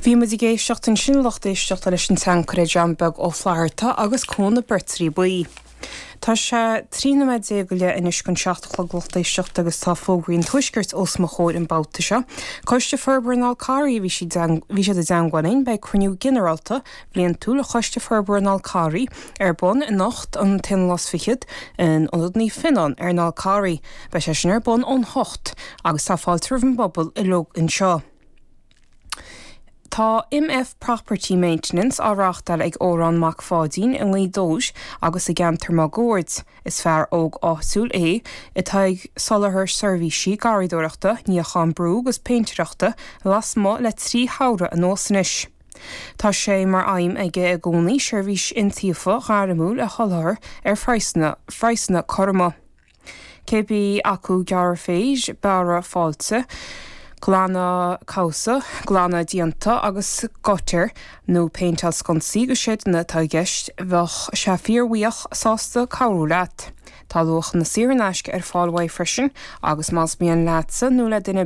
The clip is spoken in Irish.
Bhí muid ag éisteacht ansin, a lucht éisteachta, leis an tseanchaire John Beag Ó Flatharta agus Cór na Beirtrí Buí. Tá sé 13 nóiméad go leith anois chun 7 a chlog, lucht éisteachta, agus tá fógraí an Tuaiscirt os mo chomhair an babhta seo. Coiste Forbartha an Fháil Carraigh, bhí siad bhí siad i dteangmháil linn, beidh cruinniú ginearálta bliantúil Choiste Forbartha an Fháil Carraigh ar bun anocht an t-aonú lá is fichead in Ionad Naomh Fionán ar an Fhál Carraigh. Beidh sé sin ar bun ón hocht agus tá fáilte roimh an bpobal uilig anseo. Tá MF Property Maintenance á reáchtáil ag Órán Mac Pháidín i nGaoth Dobhair agus i gceantar máguaird. Is fear óg áitiúil é atá ag soláthar seirbhísí garraíodóireachta, níochán brú agus péintéireachta lasmuigh le 3 shamhradh anuas anois. Tá sé mar aidhm aige i gcónaí seirbhís iontaofa ghairmiúil a sholáthar ar phraghsanna cothroma. Cibé acu gearradh féir, bearradh failte, glanadh cabhsa, glanadh díonta agus gutter, nó péinteáil sconsaí agus seideanna atá i gceist, bheadh sé fíorbhuíoch sásta cabhrú leat. Tá luachanna saor in aisce ar fáil uaidh freisin agus más mian leatsa nó le duine.